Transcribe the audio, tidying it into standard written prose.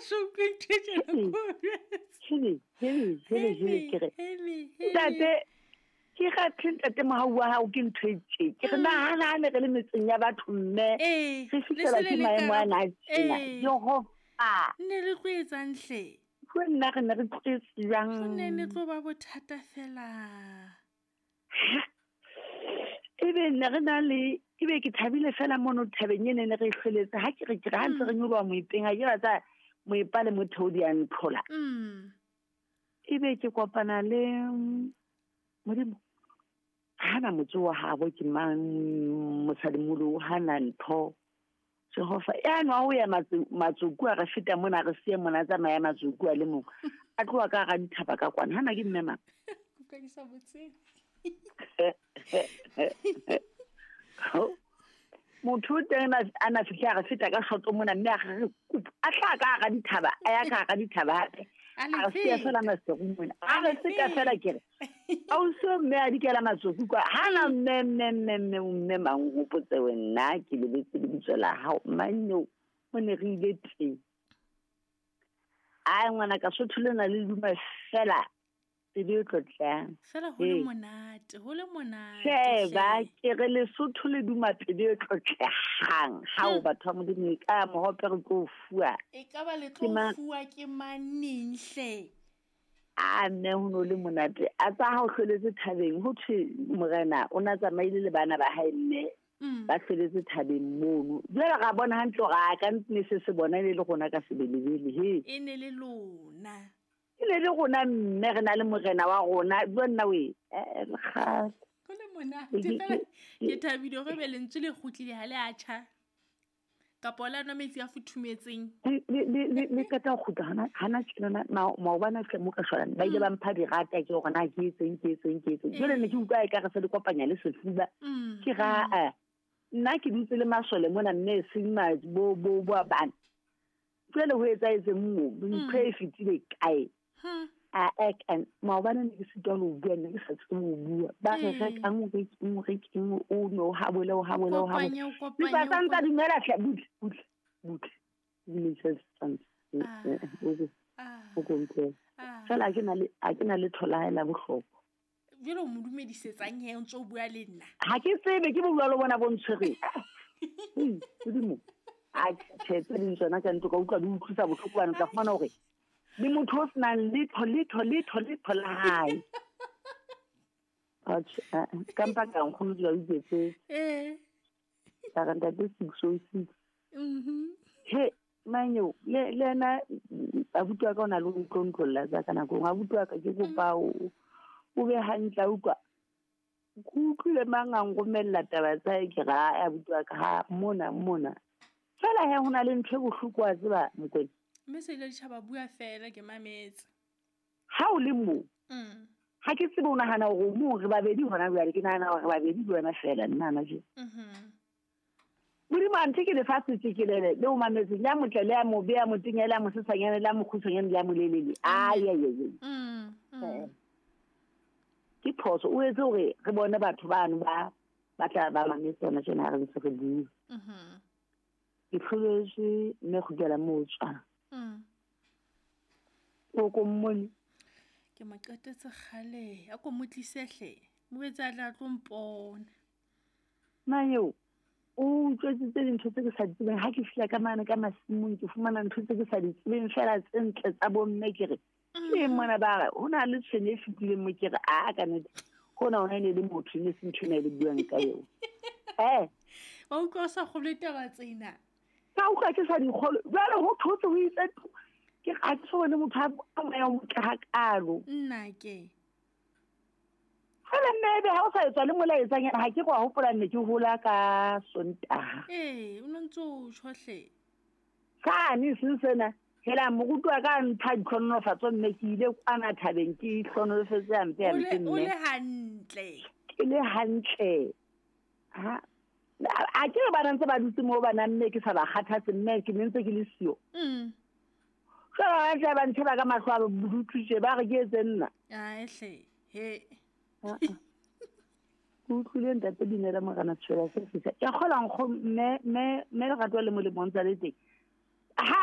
so utlwe ntho e tjena ko hele hele hele hele ke re ntate ke gathe ntate mogau wa gago ke ntho e tse ke re nagana ne re le metseng ya batho mme re fitlhela ke maemo a na a tjena jehova ne re tlo etsang hle go nna re ne re tletse jang go ne ne tlo ba bothata fela ebe ne re na le ebe ke thabile fela mono thabeng e ne ne re e hlweletse ha ke re ke re ha ntse re nyoloha moepeng ha ke batsa moepa le motheo di a ntlhola ebe ke kopana le modimo hana motse wa habo ke mang mosadimolo hana ntho jehova ya nwa ho ya matsoku a re feta mona re siye mona tsamaya matsoku a le mong a tloha ka hara dithaba ka kwana hana ke mme mang motho o teng a na fitlhe a re feta ka shoto mona mme a re kupu a tla ka hara dithaba a ya ka hara dithaba hape a re siya fela maseru mona a re feta fela ke re ausi o mme a dikela matsoku kwa hana mme mme mme mme mme mang o hopotse wena ke lebetse lebitso la hao manneo o ne re ile teng ai ngwana ka sotho lena le duma fela pelo e tlotlang fela ho le monate ho le monate sheba ke re lesotho le duma pelo e tlotlegang ha o batho ba modimo e ka mohope re tlo fuwa e ka ba le tlo fuwa ke maneng hle a mme ho no le monate a tsa ha o hloletse thabeng ho thwe morena o na tsamaile le bana ba hae mme ba hloletse thabeng mono jwale ra bona hantle hore a ka ne se se bona e le rona ka sebelebele he e ne le lona e ne le rona mme re na le morena wa rona jwa nna we kgale go le monate fela ke thabile gore be lentswe le kgutlile ha le a tjha kapa la nwa metsi a futhumetseng le qeta ho kgutla hana tjena maobane hle mo ka shwalane ba ile ba mpha dirata ke hore na ke etseng ke etseng ke etseng jwale ne ke utlwa e ka re se le kopanya le sefuba ke ra nna ke dutse le masole mona mme e seng bo bo bo bana jwale ho etsahetseng mo ntho e fetile kae a ek and maobane ne ke sitwa le ho bua ne ke sa tsebe ho bua ba re rekang o rekeng o rekeng o no habole o habole o habole ba sa ntsa dumela hle butle butle butle dumedisa santse o kompela fela a ke na le thola la bohlokwa jwale o mo dumedisetsang he o ntse o bua le nna ha ke tsebe ke bua le bona bo ntshwereng modimo a tjhe tse ding tsona ka ntlo ka utlwa di utlwisa bohloko bana tla fumana hore le motho o senang letho letho letho letho la hae atjhe ka mpa ka nkgono di ba utlwetse ka re ntate 606 he manyo le ena abuti wa ka o na le ho ntlontlolla tsa ka nako nngwe abuti wa ka ke kopa o be hantle a utlwa ke utlwile mang a nromella taba tsa hae ke re ae abuti wa ka ha mona mona fela he ho na le ntho e bohloko wa tseba Mokwena mme se ile ditjhaba bua fela ke mametse ha o le moo ha ke tsebe o nahana hore o mong re babedi hona jwale ke nahana hore re babedi le wena fela nna hana jwale modimo a nthe ke lefatshe tjekelele le o mametseng ya motle le ya mobe ya motenya le ya mosesanyane le ya mokgutshwanyane le ya molelele ai ai ai ke phoso o etse hore re bone batho bano ba ba tla ba mametse hona tjena ha re ntse re bua ke hloletswe mme kgutlela moo tswang o ko mmone ke mo qetetse kgale a ko mo tlise hle mo etse a tla tlo mpona Manyeo o utlwetsitse dintho tse ke sa di tsebeng ha ke fihla ka mane ka masimong ke fumana ntho tse ke sa di tsebeng fela tse ntle tsa bomme ke re ke mona ba re ho na le tshwene e fetileng mo ke re a ka nnete hona hona e ne le motho e ne se ntho ena e le buang ka eo wa utlwa o sa kgolwe taba tsena ka utlwa ke sa di kgolwe jwale ho thotse ho itse ke ga ke so bone motho a moya o motle hakalo nna ke fela mme ebe ha o sa etswa le molaetsanyana ha ke go hopola nne ke hola ka Sontaha ee o no ntse o tjho hle sane seng sena hela moruti wa ka mpha ditlhonolofatso mme ke ile kwana thabeng ke hlonolofetse hampe hampe mme o le hantle ke le hantle ha a ke re bana ntse ba dutse moo bana mme ke sa ba kgathatse mme ke ne ntse ke le siyo jwale ba tla ba ntsheba ka mahlo a bodutu tje ba re ke etse nna ae hle he ke utlwile ntate Dinela Morena Tshwela se fihla ke kgola nkgo mme mme mme lerato le molemo ntse le teng ha